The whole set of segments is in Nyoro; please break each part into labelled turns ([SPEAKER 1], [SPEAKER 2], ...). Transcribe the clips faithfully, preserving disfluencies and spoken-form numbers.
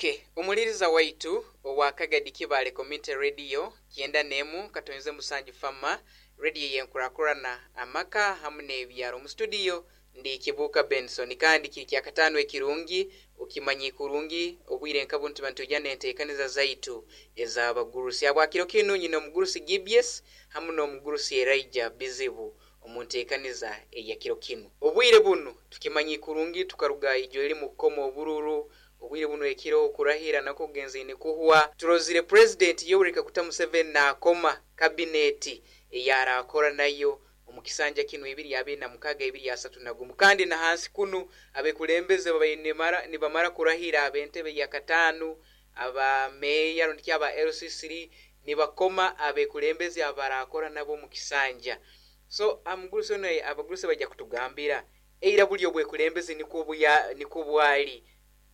[SPEAKER 1] Okay, omuliriza waitu owa Kagadi Kibale Community Radio kyenda nemu katonze musanju fama radio yenkurakurana amaka hamu n'ebyaro. Mu studio ndi Kibuka Benson, kandi kiri kya katano ekirungi okimanyi kurungi obwire nka buntu bantu jana enteekaniza zaitu ez'abagurusi. Abwakiro kinu nyina omugurusi Gibies hamu n'omugurusi Elijah Bizibu omunteekaniza eyakiro kinu. Obwire bunu tukimanyi kurungi tukaruga ijo eri mu kukoma obururu. Obwire buno ekiro okurahira nako kugenziine kuhwa. Turozire President Yoweri Kaguta Museveni naakoma kabineti eyarakora nayo omu kisanja kinu ebiri abiri na mukaga ebiri asatu na gumu, kandi na hansi kunu abekulembeze babaire nibamara kurahira ab'entebe ya kataano, aba meeya rundi aba L C three nibakoma abekulembeze abarakora nabo omu kisanja. So amugurusi ono abagurusi bajja kutugambira eira buli obwekulembeze nikwo buya nikwo bwali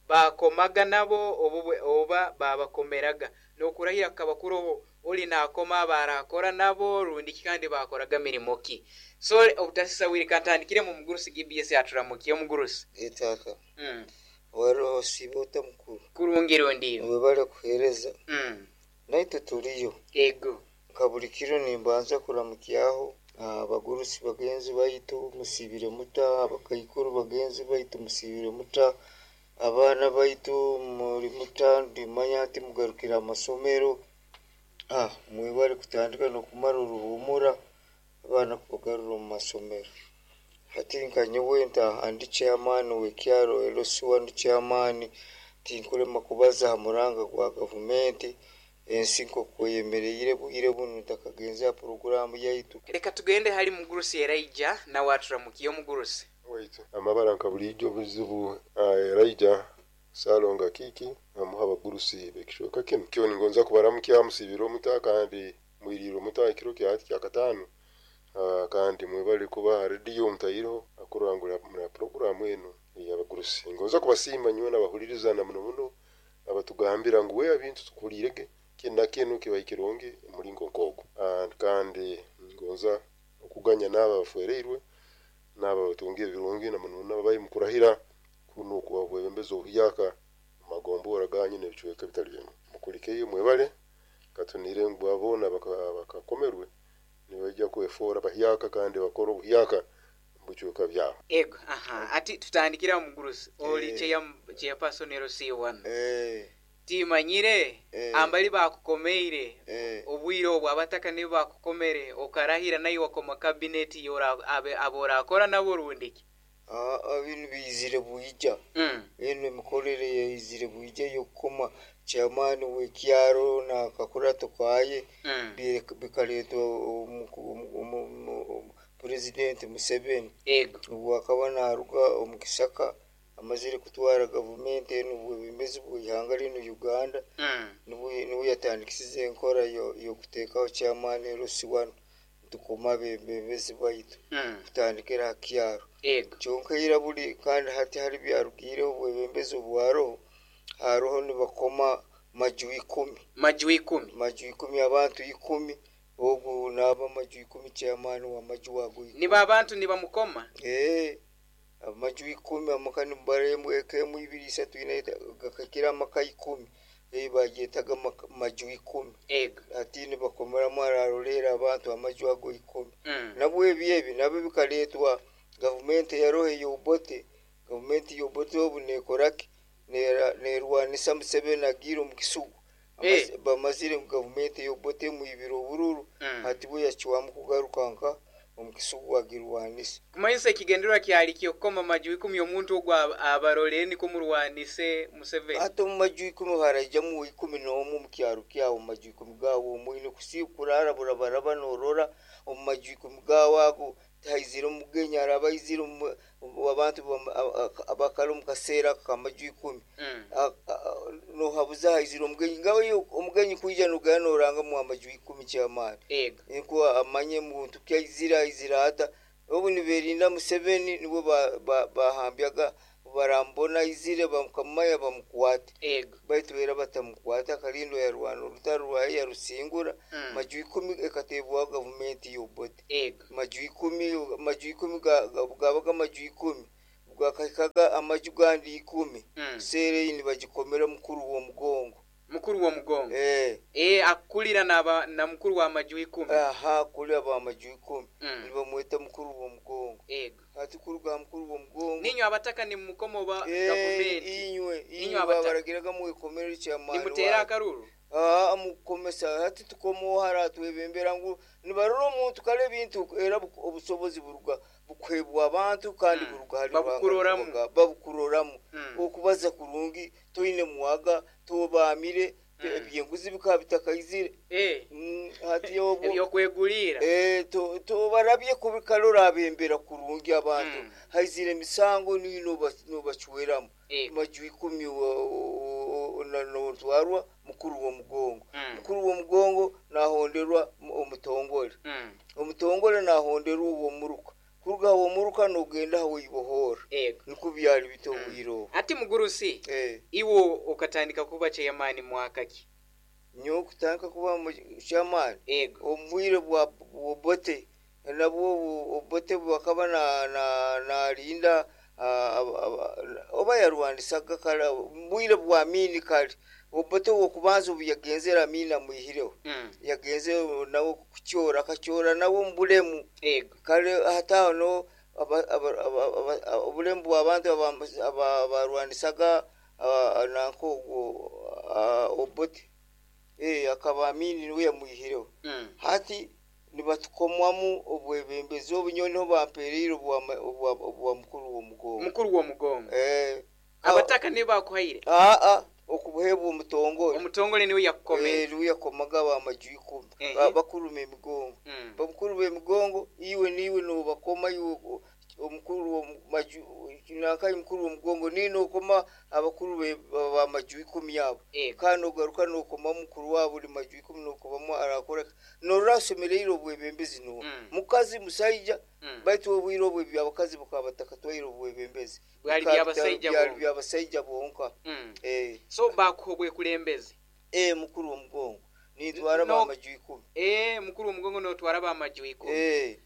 [SPEAKER 1] bakomaga nabo obu oba babakomeraga n'okurahira kukaba kuroho oli nakoma abarakora nabo rundi kandi bakoraga mirimo ki. So obutasisa wiri kantandikire mu mugurusi G B S aturamukiye omugurusi
[SPEAKER 2] etaka
[SPEAKER 1] mm.
[SPEAKER 2] Waroho sibota mukuru
[SPEAKER 1] kurungi rundi
[SPEAKER 2] webale kuhereza
[SPEAKER 1] mm.
[SPEAKER 2] Naitwe tuliyo
[SPEAKER 1] ego
[SPEAKER 2] kabuli kiro nimbanza kuramukyaho abagurusi bagenzi baitu musibire muta, abakaikuru bagenzi baitu musibire muta, abaana baitu muri muta, ndimanya ati mugarukira amasomero. Ah, mwebale kutandika n'okumara oruhumura abaana kubagarura omu masomero. Hati nka nyowe ntaha ndi chairman w'ekyaro L C one chairman, tinkurema kubaza aha muranga gwa gavumenti ensi nk'okweyemereire bwire bunu ntakagenze aha poroguramu yaitu.
[SPEAKER 1] Reka tugende hali mugurusi Elijah nawe aturamukiye omugurusi.
[SPEAKER 3] Waitu amabara nka bulijjo buzibu Elijah Salonga Kiki amuha abagurusi bekishoka kinu kyo ningonza kubaramukya musibiro omuta kandi mwiriro omuta ekiro kya hati kya katano, kandi mwebale kuba rediyo mutayiro akurangura muna poroguramu eno y'abagurusi. Ngonza kubasiima nyowe n'abahuliriza na muno muno abatugambira ngu we ebintu tukulirege kina kinu kiba kirungi mulingo nkogo, kandi ngonza okuganya n'aba bafereirwe n'aba batungiye ebirungi na muno n'abayi mukurahira kuno kuba bwebembeza obuyaka magombora ganyu n'ebicweka bitali bimwe. Mukulikeyo mwebale katunire ngu abona bakakomerwe nibajja kwefora bahyaka kandi bakora obuhyaka bucweka byabo.
[SPEAKER 1] Ego aha ati tutandikira mugurusi oli cheya chairperson L C one
[SPEAKER 2] eh
[SPEAKER 1] timanyire
[SPEAKER 2] eh,
[SPEAKER 1] ambali bakukomeire
[SPEAKER 2] eh,
[SPEAKER 1] obwire obwo abataka nibo bakukomere okarahira nayo wakoma kabineti yora aborakora nabo rundiki.
[SPEAKER 2] Ah, binu bizire bwija
[SPEAKER 1] mm.
[SPEAKER 2] eno emikorere yaizire bwija y'okukoma chairman w'ekyaro na kakurato kaye
[SPEAKER 1] mm.
[SPEAKER 2] bikaletwa President Museveni
[SPEAKER 1] ego
[SPEAKER 2] obwo akaba naruga omu Kisaka amazire kutwara gavumenti eno obwebembezi bw'ihanga lino Uganda
[SPEAKER 1] mm.
[SPEAKER 2] niwe yatandikisize enkora y'okuteekaho chairman L C one tukoma abebembezi baitu
[SPEAKER 1] mm.
[SPEAKER 2] kutandikira aha kyaro
[SPEAKER 1] ego
[SPEAKER 2] kyonka ira buli kandi hati hari byarugiireho obwebembezi obwaroho haroho nibakoma maju ikumi
[SPEAKER 1] maju ikumi
[SPEAKER 2] maju ikumi abantu ikumi ogu naba maju ikumi chairman wa maju ago ikumi
[SPEAKER 1] niba abantu nibamukoma
[SPEAKER 2] eh amaju ikumi amaka nibaremu ekemu ibiri isatu ina gakakira amaka ikumi eh bagyetaga maju ikumi
[SPEAKER 1] ego
[SPEAKER 2] ati nibakomeramu ararolera abantu amaju ago ikumi
[SPEAKER 1] mm.
[SPEAKER 2] nabwo ebi ebi nabyo bikaletwa gavumenti yaroho y'Obote. Gavumenti y'Obote obu nekoraki nerwanisa Museveni agiire omu Kisugu
[SPEAKER 1] Eh.
[SPEAKER 2] bamazire gavumenti y'Obote mwibire obururu
[SPEAKER 1] mm.
[SPEAKER 2] hati bwe yacwamu kugaruka nka omu Kisugu agirwanisa.
[SPEAKER 1] Kumanyisa ekigendererwa kyali kyokukoma maju ikumi omuntu ogwo abarolere niko murwanise Museveni.
[SPEAKER 2] Ate omu maju ikumi haraijamu ikumi n'omu omu kyaro kyawe omu maju ikumi gawe omwine kurara burabaraba norora omu maju ikumi gawe ago tihaizire omugenyi araba aizire abantu abakara omu kaseera k'amaju ikumi
[SPEAKER 1] mm.
[SPEAKER 2] nohabuza haizire omugenyi ngawe omugenyi kwija nogaya norangamu amaju ikumi ky'amaani
[SPEAKER 1] ego
[SPEAKER 2] niko amanye muntu kyaizire aizire ata obu niberinda Museveni nibo bahambyaga barambona aizire bamukamaya bamukwate
[SPEAKER 1] ego
[SPEAKER 2] baitu era batamukwata akalindo yarwana orutaro rwaye yarusingura
[SPEAKER 1] mm.
[SPEAKER 2] maju ikumi ekatebwaho gavumenti y'Obote
[SPEAKER 1] ego
[SPEAKER 2] maju ikumi maju ikumi gabaga maju ikumi Gakahikaga amaju gandi ikumi.
[SPEAKER 1] Mm.
[SPEAKER 2] Seere eyi nibagikomera mukuru w'omugongo.
[SPEAKER 1] Mukuru w'omugongo.
[SPEAKER 2] Eh.
[SPEAKER 1] Eh, akulira naba na mukuru w'amaju ikumi.
[SPEAKER 2] Aha, kuli ab'amaju ikumi.
[SPEAKER 1] Mm.
[SPEAKER 2] Nibamweta mukuru w'omugongo.
[SPEAKER 1] Ego.
[SPEAKER 2] Hati kuruga mukuru w'omugongo.
[SPEAKER 1] Ninywe abataka nimukoma oba
[SPEAKER 2] Eh,
[SPEAKER 1] gavumenti.
[SPEAKER 2] inywe
[SPEAKER 1] Inywe
[SPEAKER 2] inywe
[SPEAKER 1] abataka.
[SPEAKER 2] babaragiraga mwekomere kyamaani.
[SPEAKER 1] Nimutera akaruru.
[SPEAKER 2] Ah, mukomesa hati tukomo hara twebembera ngu nibarora omuntu kale ebintu era bu- obusobozi buruga bukwebwa abantu kandi
[SPEAKER 1] Mm.
[SPEAKER 2] buruga hari
[SPEAKER 1] Babukuroramu.
[SPEAKER 2] Ruhanga, babukuroramu.
[SPEAKER 1] Mm.
[SPEAKER 2] Okubaza kurungi toine muwaga tobamire.
[SPEAKER 1] Mm.
[SPEAKER 2] Ebyenguzi bikaba bitakaizire.
[SPEAKER 1] Eh.
[SPEAKER 2] Mm, hati obwo
[SPEAKER 1] Ebyokwegulira.
[SPEAKER 2] Eh, to- tobarabye kubikalora abembera kurungi abantu.
[SPEAKER 1] Mm.
[SPEAKER 2] Haizire emisango niyo nobacweramu.
[SPEAKER 1] Ego.
[SPEAKER 2] Maju ikumi notwarwa mukuru w'omugongo.
[SPEAKER 1] Mm.
[SPEAKER 2] Mukuru w'omugongo nahonderwa mu- omutongole.
[SPEAKER 1] Mm.
[SPEAKER 2] Omutongole nahonderwa ow'omuruka. Kuruga ow'omuruka nogenda aho ibohora.
[SPEAKER 1] Ego.
[SPEAKER 2] Niko byali bito obwire obwo.
[SPEAKER 1] Ati mugurusi,
[SPEAKER 2] Eh,
[SPEAKER 1] iwo okatandika kuba chairman mwaka ki?
[SPEAKER 2] Nyowe kutandika kuba chairman
[SPEAKER 1] Ego.
[SPEAKER 2] omu bwire bwa Obote, nabwo Obote bwakaba na na nalinda ah, aba- aba- oba yarwanisaga kale mu bwire bwa Amini. Kale Obote wokubanza obu yagenzere Amini amwihireho.
[SPEAKER 1] Mm.
[SPEAKER 2] Yagenze nawe kukyora, akakyora nawe omu bulemu.
[SPEAKER 1] Ego.
[SPEAKER 2] Kale hataho no aba- aba- aba- aba- obulemu bw'abantu aba- aba- barwanisaga ah, nanka ogwo ah, Obote. Eh, akaba Amini niwe yamwihireho.
[SPEAKER 1] Mm.
[SPEAKER 2] Hati nibatukomwamu obwebembezi obu nyowe niho bampereire obwa obwa- obwa mukuru w'omugongo.
[SPEAKER 1] Mukuru w'omugongo.
[SPEAKER 2] Eh,
[SPEAKER 1] Abataka nibo bakuhaire.
[SPEAKER 2] aa, okubuhebwa omutongole.
[SPEAKER 1] Omutongole niwe yakukomera.
[SPEAKER 2] Eh, niwe yakomaga abamaju ikumi.
[SPEAKER 1] Ehe.
[SPEAKER 2] Ba- bakuru b'emigongo.
[SPEAKER 1] Mm.
[SPEAKER 2] Bakuru b'emigongo iwe niwe nobakoma iwe o- omukuru w'amaju nankayi mukuru w'omugongo niwe nokoma abakuru be- b'amaju ikumi abo.
[SPEAKER 1] Ego.
[SPEAKER 2] Kandi nogaruka nokoma mukuru wabo buli maju ikumi nokomamu arakora norora asemereire obwebembezi nuwe.
[SPEAKER 1] Mm.
[SPEAKER 2] Mukazi musaija.
[SPEAKER 1] Mm.
[SPEAKER 2] Baitu obwire obwo ebyabakazi bukaba batakatwaire obwebembezi.
[SPEAKER 1] Bwali
[SPEAKER 2] Bukaba
[SPEAKER 1] byabasaija
[SPEAKER 2] byali
[SPEAKER 1] bonka.
[SPEAKER 2] byabasaija bonka.
[SPEAKER 1] Mm.
[SPEAKER 2] Eh,
[SPEAKER 1] So bakuha obwekulembeze.
[SPEAKER 2] eh, mukuru w'omugongo nitwara
[SPEAKER 1] No.
[SPEAKER 2] bamaju ikumi.
[SPEAKER 1] Eh, mukuru w'omugongo notwara bamaju ikumi.
[SPEAKER 2] Eh.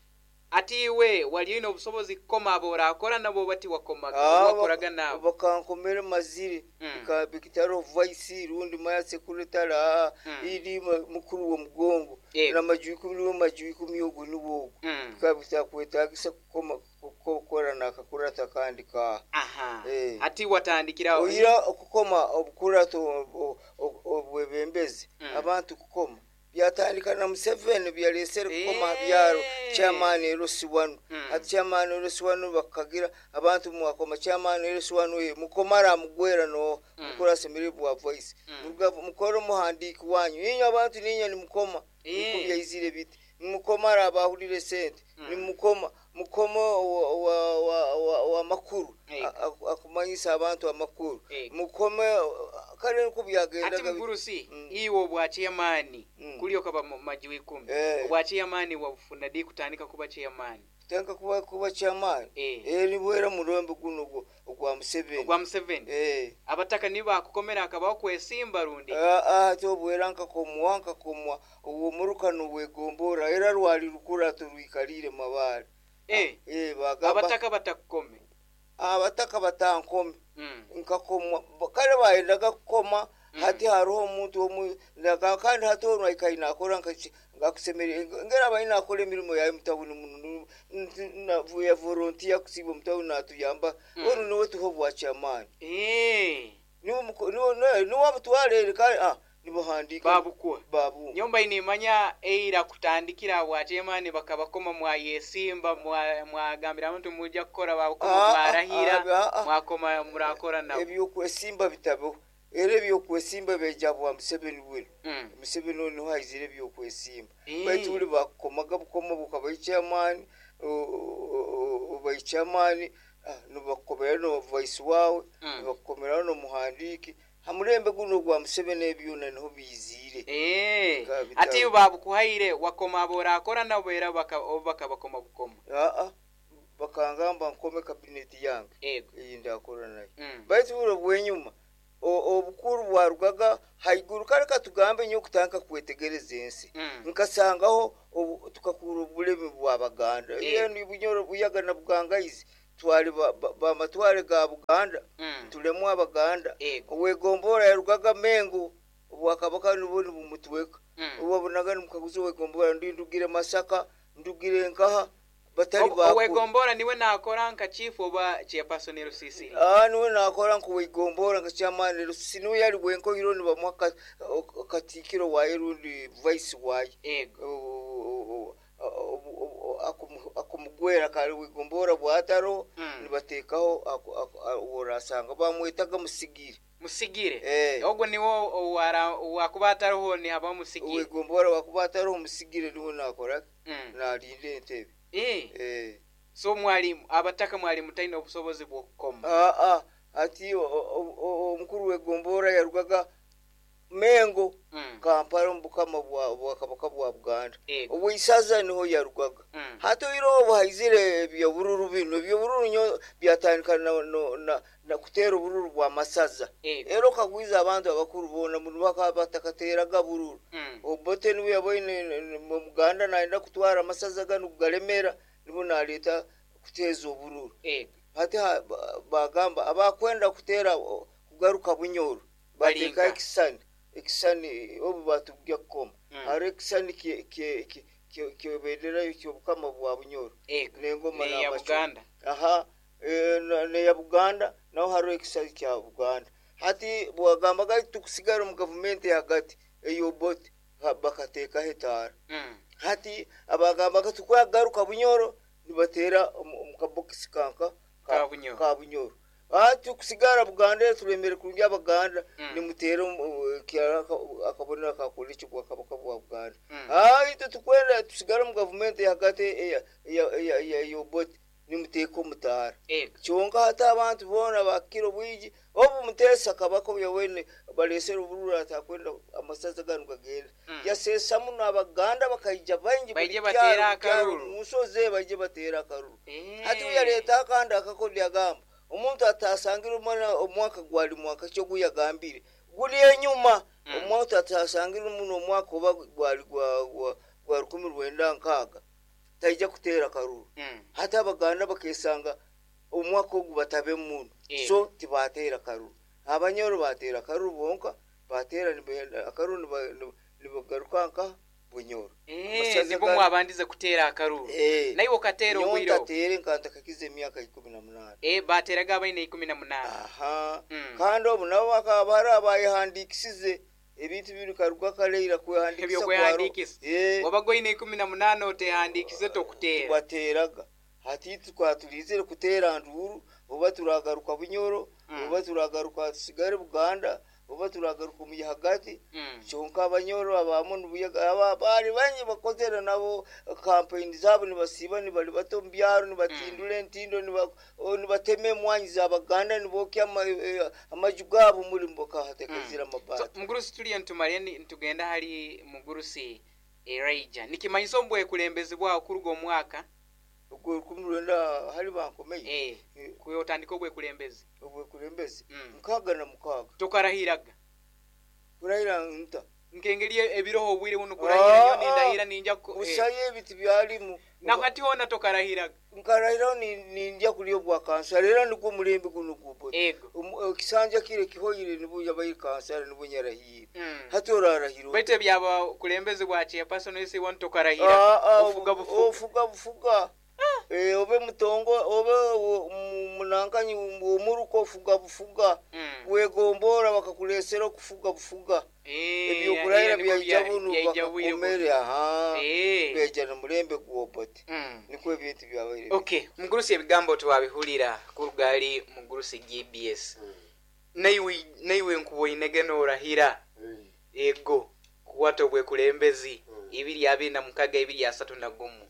[SPEAKER 1] Ati iwe wali oine obusobozi kukoma abo orakora nabo bati wakomaga,
[SPEAKER 2] Ah,
[SPEAKER 1] wakoraga
[SPEAKER 2] bak-
[SPEAKER 1] nabo.
[SPEAKER 2] Bakankomera mazire.
[SPEAKER 1] Mm.
[SPEAKER 2] Bika- bikitaro vice rundi maya secretary, ah,
[SPEAKER 1] Mm.
[SPEAKER 2] iri ma- mukuru w'omugongo.
[SPEAKER 1] Yego.
[SPEAKER 2] Namaju ikumi niwe maju ikumi ogwo niwo ogwo.
[SPEAKER 1] Mm.
[SPEAKER 2] Bikaba bitakwetagisa kukoma kukora nakakurata kandi ka
[SPEAKER 1] Aha.
[SPEAKER 2] Eh.
[SPEAKER 1] Ati watandikira
[SPEAKER 2] oyira okukoma obukurato ob- ob- obwebembezi.
[SPEAKER 1] Mm.
[SPEAKER 2] Abantu kukoma byatandika na Museveni byalesere kukoma
[SPEAKER 1] Eh.
[SPEAKER 2] byaro chairman L C one.
[SPEAKER 1] Mm.
[SPEAKER 2] Ati chairman L C one bakagira abantu mwakoma chairman L C one we mukomara mugwera no
[SPEAKER 1] Mm.
[SPEAKER 2] mukora asemere bwa voice.
[SPEAKER 1] Mm.
[SPEAKER 2] Muruga mukoro muhandiki wanyu inyo abantu ninyo nimukoma.
[SPEAKER 1] Eh.
[SPEAKER 2] Niko byaizire biti nimukomara abahulire sente.
[SPEAKER 1] Mm.
[SPEAKER 2] Nimukoma mukoma wa, wa, wa, wa, wa makuru.
[SPEAKER 1] Eh.
[SPEAKER 2] A- a- akumanyisa abantu amakuru.
[SPEAKER 1] Eh.
[SPEAKER 2] Mukome kale niko
[SPEAKER 1] Ati
[SPEAKER 2] byagendaga.
[SPEAKER 1] mugurusi,
[SPEAKER 2] Mm.
[SPEAKER 1] iwe obwa chairman
[SPEAKER 2] Mm.
[SPEAKER 1] kuli okaba mu maju ikumi.
[SPEAKER 2] Eh.
[SPEAKER 1] Obwa chairman wabufuna di kutandika kuba chairman?
[SPEAKER 2] Tenka kuba kuba chairman.
[SPEAKER 1] Eh.
[SPEAKER 2] Eh, nibwera murembe guno ogwo ogwa Museveni.
[SPEAKER 1] Ogwa Museveni.
[SPEAKER 2] Eh.
[SPEAKER 1] Abataka nibo bakukomera akabaho kwesimba rundi?
[SPEAKER 2] Ah, ah, tobwera nkakomwa nkakomwa uwo muruka nuwegombora era rwali rukura turwikalire mabale.
[SPEAKER 1] Eh.
[SPEAKER 2] Eh, bagamba
[SPEAKER 1] Abataka batakukome.
[SPEAKER 2] Abataka batankome.
[SPEAKER 1] Mm.
[SPEAKER 2] Nkakomwa kale bayendaga kukoma.
[SPEAKER 1] Mm.
[SPEAKER 2] Hati hariho omuntu omu naka- kandi hati ono aikaire nakora ngakusemere ngera abaine nakora emirimo yawe mutawuni muno ya volunteer kusiiba omutawuni natuyamba.
[SPEAKER 1] Mm.
[SPEAKER 2] Onu niwe tuha obwa chairman.
[SPEAKER 1] Eh.
[SPEAKER 2] Niwe muko- niwe niwe- niwe abutwara kale, ah, nibuhandika.
[SPEAKER 1] Babukuha.
[SPEAKER 2] Babu.
[SPEAKER 1] Nyomba inimanya eira kutandikira bwa chairman bakabakoma mwayesimba mwa- mwagambira abantu mujja kukora babukoma.
[SPEAKER 2] Ah, ah,
[SPEAKER 1] mwarahira.
[SPEAKER 2] ah, ah.
[SPEAKER 1] Mwakoma murakora nabo.
[SPEAKER 2] Ebyokwesimba bitabeho era ebyokwesimba beja bwa Museveni bwino.
[SPEAKER 1] Mm.
[SPEAKER 2] Museveni ono niho haizire ebyokwesimba.
[SPEAKER 1] Eh.
[SPEAKER 2] Baitu buli bakukomaga bukoma bukaba chairman, oba chairman nibakukomera no vice wawe.
[SPEAKER 1] Mm.
[SPEAKER 2] Nibakukomera nomuhandiki hamulembe guno gwa Museveni ebyona niho biizire.
[SPEAKER 1] Eh.
[SPEAKER 2] Bikaba bitabo.
[SPEAKER 1] Ati babukuhaire wakoma abo orakora nabo era baka oba bakabakoma bukoma?
[SPEAKER 2] Aa, bakangamba nkome kabineti yange.
[SPEAKER 1] Ego.
[SPEAKER 2] Iyi ndakora nayo.
[SPEAKER 1] Mm.
[SPEAKER 2] Baitu buro bwenyuma o- obukuru bwarugaga haiguru kale katugambe nyo kutandika kwetegereza ensi.
[SPEAKER 1] Mm.
[SPEAKER 2] Nkasangaho obu- tukakura obulemi bwabaganda.
[SPEAKER 1] Eh.
[SPEAKER 2] Yani Bunyoro Buyaga na Bugangaizi. Twali bamatwale ga Buganda,
[SPEAKER 1] Mm.
[SPEAKER 2] tulemu Abaganda.
[SPEAKER 1] Ego.
[SPEAKER 2] Owegombora yarugaga Mengo, obwakabaka nibwo nibumutweka.
[SPEAKER 1] Mm.
[SPEAKER 2] Owabonaga nimukaguza owegombora, ndi ndugire Masaka, ndugire nkaha, batali
[SPEAKER 1] Obu-
[SPEAKER 2] bakuru.
[SPEAKER 1] Owegombora niwe nakora nka chief oba chairperson L C C?
[SPEAKER 2] Ah, niwe nakora nkuwegombora nka chairman L C C, niwe yali wenkohiro nibamuha ka- o- katikiro waye rundi vice waye.
[SPEAKER 1] Ego.
[SPEAKER 2] O- o- o- o- akumu- akumugwera kale wegombora bwataro,
[SPEAKER 1] Mm.
[SPEAKER 2] nibatekaho aku- aku- a- worasanga bamwetaga Musigire.
[SPEAKER 1] Musigire.
[SPEAKER 2] Eh.
[SPEAKER 1] Ogwo niwo owara wakuba atariho ni haba Musigire.
[SPEAKER 2] Wegombora wakuba atariho, Musigire niwe nakora,
[SPEAKER 1] Mm.
[SPEAKER 2] nalinda entebe.
[SPEAKER 1] Eh.
[SPEAKER 2] Eh.
[SPEAKER 1] So mwalimu abataka mwalimu talina obusobozi bw'okukoma?
[SPEAKER 2] Ah, ah, ati o- o- o- omukuru wegombora yarugaga Mengo,
[SPEAKER 1] Mm.
[SPEAKER 2] Kampala, omu bukama bwa bwakabaka bwa Buganda.
[SPEAKER 1] Ego.
[SPEAKER 2] Obwisaza niho yarugaga.
[SPEAKER 1] Mm.
[SPEAKER 2] Hati oiro obu haizire ebyobururu bino, ebyobururu nyo byatandika na, no, na, na kuteera obururu bwa masaza.
[SPEAKER 1] Ego.
[SPEAKER 2] Era okagwiza abantu abakuru boona muno bakaba batakateraga bururu.
[SPEAKER 1] Mm.
[SPEAKER 2] Obote niwe yaboine mu Buganda nayenda kutwara amasaza gano kugalemera, nibo naleeta kuteeza obururu.
[SPEAKER 1] Ego.
[SPEAKER 2] Hati ha- ba- bagamba abakwenda kuteera o- kugaruka Bunyoro
[SPEAKER 1] Balinka.
[SPEAKER 2] bateeka ekisani ekisani obu batujja kukoma.
[SPEAKER 1] Mm.
[SPEAKER 2] Hariho ekisani kyebendera kyobukama bwa Bunyoro
[SPEAKER 1] Ego.
[SPEAKER 2] n'engoma
[SPEAKER 1] Neya
[SPEAKER 2] n'amacumu.
[SPEAKER 1] Buganda.
[SPEAKER 2] Aha, eh, na- neya Buganda, naho hariho ekisani kya Buganda. Hati bwagambaga tukusigara omu gavumenti hagati eyobote bakateekaho etaara.
[SPEAKER 1] Mm.
[SPEAKER 2] Hati abagambaga tukwagaruka Bunyoro nibateera omu omu kabokisi kanka
[SPEAKER 1] Ka Bunyoro.
[SPEAKER 2] Ka Bunyoro. Hati kusigara Buganda turemere kurungi Abaganda,
[SPEAKER 1] Mm.
[SPEAKER 2] nimuteera omu- kyara aka- akabonero akakora ekyobwakabaka bwa Buganda.
[SPEAKER 1] Mm.
[SPEAKER 2] Ah, itwe tukwenda tusigare omu gavumenti hagati eya- eya- eya- eya- eyobote nimuteeka omutaara.
[SPEAKER 1] Ego.
[SPEAKER 2] Kyonka hati abantu boona bakira obwigi obu Muteesa kabaka yawene balesere obururu atakwenda amasaza ganu gagenda.
[SPEAKER 1] Mm.
[SPEAKER 2] Yaseesa muno Abaganda bakaija baingi buli
[SPEAKER 1] Baije
[SPEAKER 2] kyaro,
[SPEAKER 1] bateera
[SPEAKER 2] buli kyaro,
[SPEAKER 1] akaruru.
[SPEAKER 2] mu nsozi baije bateera akaruru.
[SPEAKER 1] Eh.
[SPEAKER 2] Hati uyaleeta akandi akakodi agamba omuntu atasangire omwana omwaka gwali mwaka kyo guyagambire guli enyuma.
[SPEAKER 1] Mm.
[SPEAKER 2] Omuntu atasangire muno omwaka oba gwali gwa gwa- gwa rukumi rwenda nkaaga taija kuteera karuru.
[SPEAKER 1] Mm.
[SPEAKER 2] Hati Abaganda bakesanga omwaka ogu batabe muno.
[SPEAKER 1] Eh.
[SPEAKER 2] So tibateera karuru. Abanyoro bateera karuru bonka, bateera nibenda akaruru, niba- niba- nibagaruka nka Bunyoro.
[SPEAKER 1] Eh,
[SPEAKER 2] Amasaza
[SPEAKER 1] nibwo
[SPEAKER 2] ga-
[SPEAKER 1] mwabandize kuteera akaruru.
[SPEAKER 2] Eh.
[SPEAKER 1] Naye okateera
[SPEAKER 2] Nyowe
[SPEAKER 1] obwire obwo?
[SPEAKER 2] ntateere nka ntakakiza emyaka ikumi na munaana.
[SPEAKER 1] Eh, bateeraga abaine ikumi na munaana.
[SPEAKER 2] Aha.
[SPEAKER 1] Mm.
[SPEAKER 2] Kandi obu nabo bakaba bari abayehandikisize ebintu biri karuga kaleira kwehandikisa.
[SPEAKER 1] Ebyokwehandikisa.
[SPEAKER 2] Eh.
[SPEAKER 1] Wabaga oine ikumi na munaana otehandikize tokuteera.
[SPEAKER 2] Bateeraga. Hati twaturizire kuteera nduru oba turagaruka Bunyoro,
[SPEAKER 1] Mm.
[SPEAKER 2] oba turagaruka tusigare Buganda, oba turagaruka omu hagati.
[SPEAKER 1] Mm.
[SPEAKER 2] Kyonka Abanyoro abamu nibuyaga aba bari bangi bakozere nabo kampeyini zaabo, nibasiiba nibali bato omu byaro, nibatindura entindo, niba- o, nibatema emwanyi z'Abaganda, nibokya ama- eh, amaju gaabo muri bakahatekazira
[SPEAKER 1] So,
[SPEAKER 2] amabaati.
[SPEAKER 1] Mugurusi tuliyo ntumale ni- ntugenda hali mugurusi Elijah. Nikimanyisa obwekulembezi bwawo kuruga omwaka
[SPEAKER 2] Ogwo rukumi rwenda hali bankomeye.
[SPEAKER 1] eh
[SPEAKER 2] Eh.
[SPEAKER 1] kuyo otandika obwekulembezi.
[SPEAKER 2] Obwekulembezi,
[SPEAKER 1] Mm.
[SPEAKER 2] nkaaga na mukaaga.
[SPEAKER 1] Tokarahiraga?
[SPEAKER 2] Kurahira nta?
[SPEAKER 1] Nkengeri ebiroho obwire buno kurahira nyo
[SPEAKER 2] Ah,
[SPEAKER 1] nindahira ninja ku- eh.
[SPEAKER 2] Busayo ebiti byalimu.
[SPEAKER 1] Nakati hona tokarahiraga?
[SPEAKER 2] Nkarahiraho ni- nindya kulya obwa kansara, era nigwo omulembe guno gubote.
[SPEAKER 1] Ego.
[SPEAKER 2] Ekisanja kire kihoyire nibwo yabaire kansara, nibwo nyarahire.
[SPEAKER 1] Mm.
[SPEAKER 2] Hati orarahira ota?
[SPEAKER 1] Baitu ebyabakulembezi bwa chairperson esi wanu tokarahira?
[SPEAKER 2] Ah, ah,
[SPEAKER 1] Ofuga bufuga.
[SPEAKER 2] Ofuga bufuga. Eh, obe mutongo obe wo- mu- munankanyi omuruka, ofuga bufuga.
[SPEAKER 1] Mm.
[SPEAKER 2] Wegombora bakakulesera okufuga bufuga.
[SPEAKER 1] Eh,
[SPEAKER 2] Ebyokurahira
[SPEAKER 1] era nibwo
[SPEAKER 2] byaija
[SPEAKER 1] bya-
[SPEAKER 2] bunu
[SPEAKER 1] byaija bwire buno.
[SPEAKER 2] bakakomere aha.
[SPEAKER 1] Eh.
[SPEAKER 2] Byaija nomulembe gwobote.
[SPEAKER 1] Mm.
[SPEAKER 2] Nikwo ebintu byabaire.
[SPEAKER 1] Okay, mugurusi ebigambo twabihulira kuruga ali mugurusi G B S. Naiwe naiwe nkuboinege norahira ego kuwata obwekulembezi
[SPEAKER 3] Mm.
[SPEAKER 1] ibiri abiri na mukaga ibiri asatu na gumu.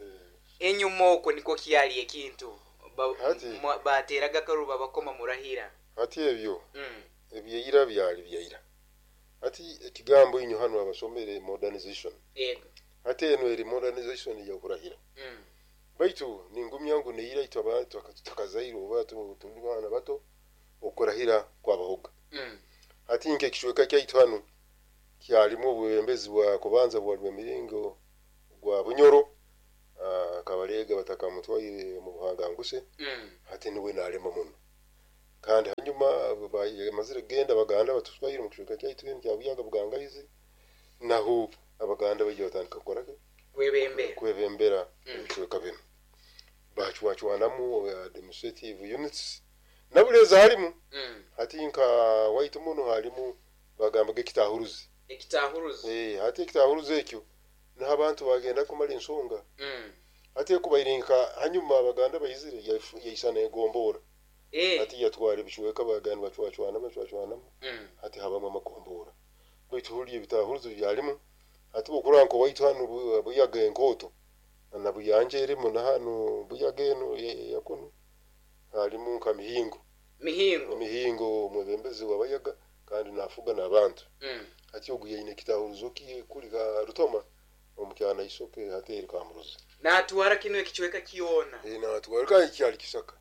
[SPEAKER 1] Enyuma okwo nikwo kyali ekintu Ba-
[SPEAKER 3] Hati.
[SPEAKER 1] mwa- bateraga akaruru babakoma murahira.
[SPEAKER 3] Hati ebyo
[SPEAKER 1] Mm.
[SPEAKER 3] ebyeira byali byaira. Hati ekigambo inyo hano abasomere modernization.
[SPEAKER 1] Ego.
[SPEAKER 3] Hati eno eri modernization yakurahira.
[SPEAKER 1] Mm.
[SPEAKER 3] Baitu ningumya ngu neira itwe abantu tutakazaire oba tu- tuli baana bato okurahira kwabahoga.
[SPEAKER 1] Mm.
[SPEAKER 3] Hati nke ekicweka kyaitu hano kyalimu obwebembezi bwa kubanza bwa Rwemiringo gwa Bunyoro, uh, Kabalega batakamutwaire mu buhanganguse,
[SPEAKER 1] Mm.
[SPEAKER 3] hati niwe nalema muno. Kandi hanyuma bamazire kugenda Abaganda batuswaire mu kicweka kyaitu kinu kya Buyaga Bugangaizi, naho Abaganda baija batandika kukora ki?
[SPEAKER 1] Kwebembera.
[SPEAKER 3] Kwebembera
[SPEAKER 1] Mm.
[SPEAKER 3] ebicweka binu, bacwacwanamu administrative units nabulezi halimu.
[SPEAKER 1] Mm.
[SPEAKER 3] Hati nka waitu muno halimu bagambaga ekitahuruzi.
[SPEAKER 1] Ekitahuruzi.
[SPEAKER 3] Eh, hati ekitahuruzi ekyo niho abantu bagenda kumara ensonga.
[SPEAKER 1] Mm.
[SPEAKER 3] Hati ekubaire nka hanyuma Abaganda baizire yaifu- yaisana egombora.
[SPEAKER 1] Eh.
[SPEAKER 3] Hati yatwara ebicweka, baganda bacwacwanamu bacwacwanamu,
[SPEAKER 1] Mm.
[SPEAKER 3] hati habamu amagombora, baitu huli ebitahuruzi byalimu. Hati bwokurora nka waitu hanu Bu- Buyaga enkooto na Buyanja erimu, na hanu Buyaga eno ya- yakunu halimu nka Mihingo.
[SPEAKER 1] Mihingo.
[SPEAKER 3] Mihingo omwebembezi w'Abayaga kandi nafuga n'abantu.
[SPEAKER 1] Mm.
[SPEAKER 3] Hati ogu yaine ekitahuruzo kiye kuli ka Rutoma omukyana isoke, hati eri Kamuruzi.
[SPEAKER 1] Natwara kino ekicweka kyona.
[SPEAKER 3] Eh, natwara kandi kyali kisaka.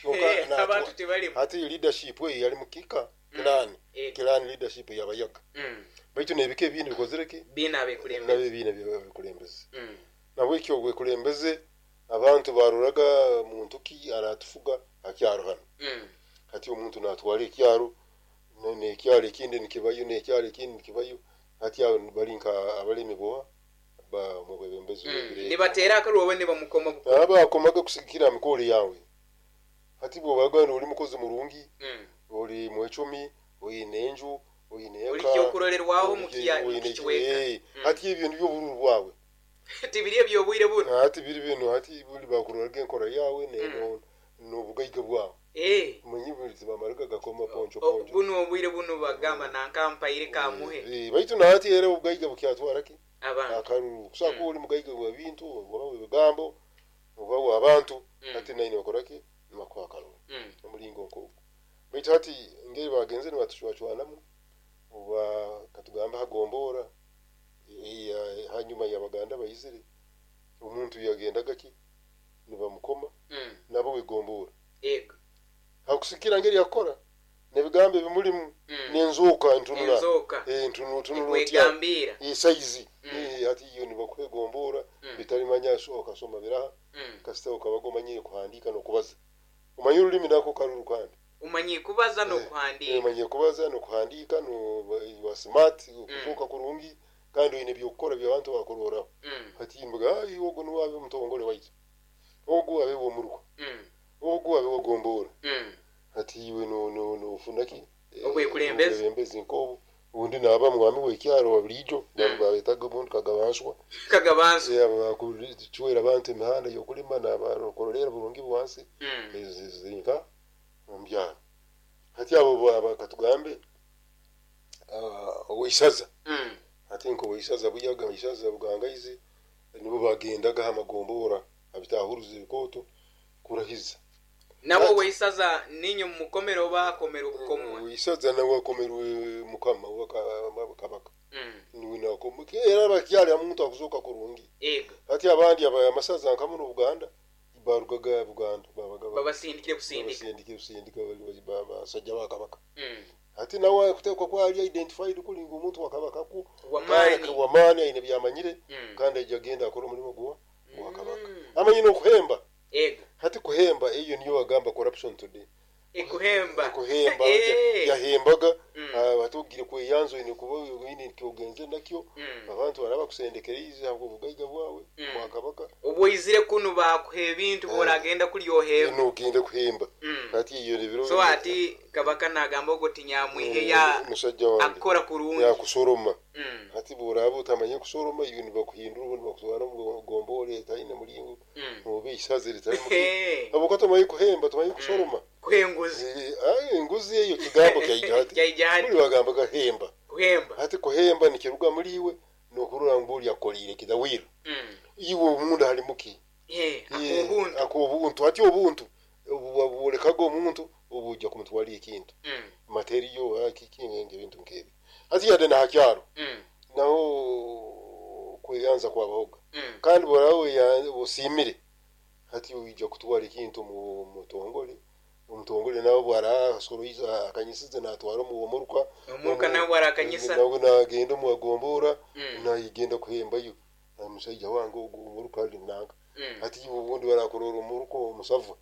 [SPEAKER 3] Kyonka
[SPEAKER 1] Eh,
[SPEAKER 3] natwa-
[SPEAKER 1] abantu tebalimu.
[SPEAKER 3] Hati leadership eyo yali mukika clan.
[SPEAKER 1] Eh.
[SPEAKER 3] Clan leadership y'Abayaga,
[SPEAKER 1] Mm.
[SPEAKER 3] baitu n'ebika ebindi bikozire ki?
[SPEAKER 1] Bina
[SPEAKER 3] Nabyo
[SPEAKER 1] abekulembeze.
[SPEAKER 3] ebiina byabekulembeze.
[SPEAKER 1] Mm.
[SPEAKER 3] Nabwekyo obwekulembeze abantu baroraga muntu ki aratufuga akyaro hano.
[SPEAKER 1] Mm.
[SPEAKER 3] Hati omuntu natwara ekyaro ne- nekyaro ekindi nikibayo, nekyaro ekindi nikibayo. Hati abo bali nka abalemi boha ba mubwebembezi.
[SPEAKER 1] Mm.
[SPEAKER 3] Bw'ebiro.
[SPEAKER 1] Nibatera akarubo nibamukoma buko.
[SPEAKER 3] Aba akomaga kusigikira mikoro yawe. Hati bwobaga ori mukozi murungi,
[SPEAKER 1] Mm.
[SPEAKER 3] ori mwecumi, oyine enju, oyine
[SPEAKER 1] Ori
[SPEAKER 3] eka,
[SPEAKER 1] kyokurorerwaho
[SPEAKER 3] ori-
[SPEAKER 1] mu kya- mu
[SPEAKER 3] oyine-
[SPEAKER 1] kicweka.
[SPEAKER 3] eh,
[SPEAKER 1] Mm.
[SPEAKER 3] hati ebyo nibyo obururu bwawe.
[SPEAKER 1] Tibiri ebyobwire buno.
[SPEAKER 3] Hati biri bino, hati buli bakuroraga enkora yawe ne-
[SPEAKER 1] Mm.
[SPEAKER 3] no- n'obugaiga bwawe.
[SPEAKER 1] Eh.
[SPEAKER 3] Manyi buli tibamaraga gakoma poncho
[SPEAKER 1] O-
[SPEAKER 3] poncho.
[SPEAKER 1] Buno obwire buno bagamba nankampaire kamuhe.
[SPEAKER 3] Eh, baitu nahati era obugaiga bukyatwara ki?
[SPEAKER 1] Abantu.
[SPEAKER 3] Akaruru kusaka.
[SPEAKER 1] Mm.
[SPEAKER 3] Oli mugaiga bwa bintu oba bwebigambo oba bw'abantu,
[SPEAKER 1] Mm.
[SPEAKER 3] hati naine bakora ki? Nibakuha akaruru.
[SPEAKER 1] Mm.
[SPEAKER 3] Omulingo nk'ogwo. Baitu hati ngeri bagenze nibatucwacwanamu, oba katugambe hagombora eh, hanyuma y'Abaganda bayizire, omuntu yagendaga ki nibamukoma
[SPEAKER 1] Mm.
[SPEAKER 3] nabo wegombora.
[SPEAKER 1] Ego.
[SPEAKER 3] Hakusikira ngeri yakora nebigambo ebimulimu,
[SPEAKER 1] Mm.
[SPEAKER 3] nenzoka ntunula.
[SPEAKER 1] Enzoka.
[SPEAKER 3] Eh, ntunu tunula otya?
[SPEAKER 1] Ekwegambira.
[SPEAKER 3] Esaizi.
[SPEAKER 1] Mm.
[SPEAKER 3] Eh, hati iyo nibakwegombora.
[SPEAKER 1] Mm.
[SPEAKER 3] Bitalimanya so okasoma biraha,
[SPEAKER 1] Mm.
[SPEAKER 3] kasita okabaga omanyire kuhandika n'okubaza, omanye olulimi nako karuru kandi.
[SPEAKER 1] Umanyi kubaza
[SPEAKER 3] Eh,
[SPEAKER 1] n'okuhandiika.
[SPEAKER 3] Omanyire kubaza n'okuhandika, no wa smart, okuzuuka kurungi, kandi oyine byokukora byabantu bakuroraho.
[SPEAKER 1] Mm.
[SPEAKER 3] Hati mbuga, "Ai, ogu niwe abe mutongole waitu, ogu abe womuruka,
[SPEAKER 1] Mm.
[SPEAKER 3] ogu abe wogombora."
[SPEAKER 1] Mm.
[SPEAKER 3] Hati iwe no- no- nofuna ki? Eh,
[SPEAKER 1] Obwekulembeze.
[SPEAKER 3] Obwebembezi nkobu. Undi naba mwami w'ekyaro wa bulijo,
[SPEAKER 1] Mm.
[SPEAKER 3] babetaga omuntu kagabanswa.
[SPEAKER 1] Kagabansu.
[SPEAKER 3] Bakucwera abantu emihanda y'okulima, nabakorolera burungi bwansi.
[SPEAKER 1] Mm.
[SPEAKER 3] Zinka omubyaro. Hati abo baba katugambe ah, oweisaza.
[SPEAKER 1] Mm.
[SPEAKER 3] Hati nka oweisaza Buyaga, isaza Bugangaizi, nibo bagendaga amagombora abitahuruza ebikooto kurahiza.
[SPEAKER 1] Nabo
[SPEAKER 3] Ati-
[SPEAKER 1] weisaza ninyo mumukomero oba akomera obukomwa?
[SPEAKER 3] Weisaza nawe akomerwe mukama wa ka- kabaka.
[SPEAKER 1] Mm.
[SPEAKER 3] Niwe nakoma era bakyali omuntu akuzoka kurungi.
[SPEAKER 1] Ego.
[SPEAKER 3] Hati abandi aba amasaza nka muno Buganda barugaga Buganda babaga
[SPEAKER 1] Babasindikire busindika.
[SPEAKER 3] basindika busindika, bali basajja ba kabaka.
[SPEAKER 1] Mm.
[SPEAKER 3] Hati nawe kutekwa kwali identified kuli ngu omuntu wa kabaka ku
[SPEAKER 1] Wamaani.
[SPEAKER 3] wamaani, aine byamanyire.
[SPEAKER 1] Mm.
[SPEAKER 3] Kandi ajja agenda akora omulimu gwa gwa kabaka.
[SPEAKER 1] Mm.
[SPEAKER 3] Amanyi n'okuhemba.
[SPEAKER 1] Ego.
[SPEAKER 3] Hati kuhemba eyo niyo bagamba corruption today.
[SPEAKER 1] Ekuhemba.
[SPEAKER 3] Kuhemba.
[SPEAKER 1] Eh.
[SPEAKER 3] Yahembaga.
[SPEAKER 1] Mm.
[SPEAKER 3] Batugire kweyanzo ine kuba oyine kyogenze nakyo.
[SPEAKER 1] Mm.
[SPEAKER 3] Abantu baraba kusendekereza aho obugaiga bwawe
[SPEAKER 1] Mm.
[SPEAKER 3] bwa kabaka.
[SPEAKER 1] Obwoizire kuno bakuha ebintu, bworagenda kuryohemba.
[SPEAKER 3] Nogenda kuhemba.
[SPEAKER 1] Mm.
[SPEAKER 3] Hati iyo nebiro.
[SPEAKER 1] So ati kabaka nagamba ogo tinyamwihe ya
[SPEAKER 3] musajja wange
[SPEAKER 1] akora kurungi.
[SPEAKER 3] Yakusoroma.
[SPEAKER 1] Mm.
[SPEAKER 3] Hati bworaba utamanye kusoroma, iyo nibakuhindura ubundi bakutwara mu gombore etaine mulingo,
[SPEAKER 1] Mm.
[SPEAKER 3] oba isazi ritari mu
[SPEAKER 1] Eh.
[SPEAKER 3] abo tumanyi kuhemba, tumanyi kusoroma.
[SPEAKER 1] Kuhenguzi.
[SPEAKER 3] Eh, ai, enguzi eyo kigambo kyaija hati.
[SPEAKER 1] Kyaija hati.
[SPEAKER 3] Buli bagambaga hemba.
[SPEAKER 1] Kuhemba.
[SPEAKER 3] Hati kuhemba nikiruga muri iwe nokurora ngu oli akolire kidawira.
[SPEAKER 1] Mm.
[SPEAKER 3] Iwe omunda halimuki?
[SPEAKER 1] Eh, akobuntu.
[SPEAKER 3] Akobuntu. Hati obuntu bwolekaga omuntu obujja kumutwala ekintu,
[SPEAKER 1] Mm.
[SPEAKER 3] materiyo kiki, ebintu nkebi. Hati yadde nahakyaro,
[SPEAKER 1] Mm.
[SPEAKER 3] naho kweyanza kwabahoga.
[SPEAKER 1] Mm.
[SPEAKER 3] Kandi bworabe osiimire, hati oija kutwara ekintu mu mutongole, omutongole nawe bwarasoroiza akanyisize natwara omuruka.
[SPEAKER 1] Omuruka nawe bwarakanyisa.
[SPEAKER 3] Nawe nagenda omuwagombora,
[SPEAKER 1] Mm.
[SPEAKER 3] nayigenda kuhembayo, omushaija wange ogu omuruka ali nanka. Hati iwe obundi barakurora omuruko omusava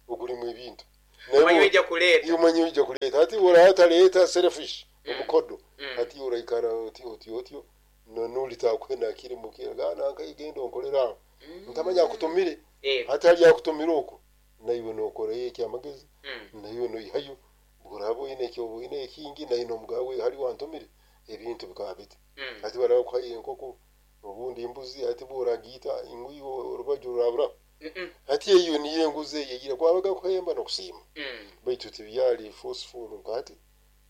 [SPEAKER 3] ogulimu ebintu
[SPEAKER 1] Omanyi ojja kuleeta.
[SPEAKER 3] Iwe omanyi ojja kuleeta. Hati orataleta selfish, omukodo. Hati oraikara otyo otyo otyo nolitakwenda kiri mukira gana nkaigenda onkolera aho ntamanya akutumire. Hati hali akutumire okwo naiwe nokorayo ekyamagezi, naiwe noihayo buraba oine ekyo oine ekingi naye nomugawe hali wantumire ebintu bikaba biti. Hati baraba kuhayo enkoko obundi embuzi, hati bworagiita ingwiwe orubaju rurabura. Hati eyo niyo enguzi eyeyire kwabaga kuhemba nokusiima. Baitu tibyali forceful nkati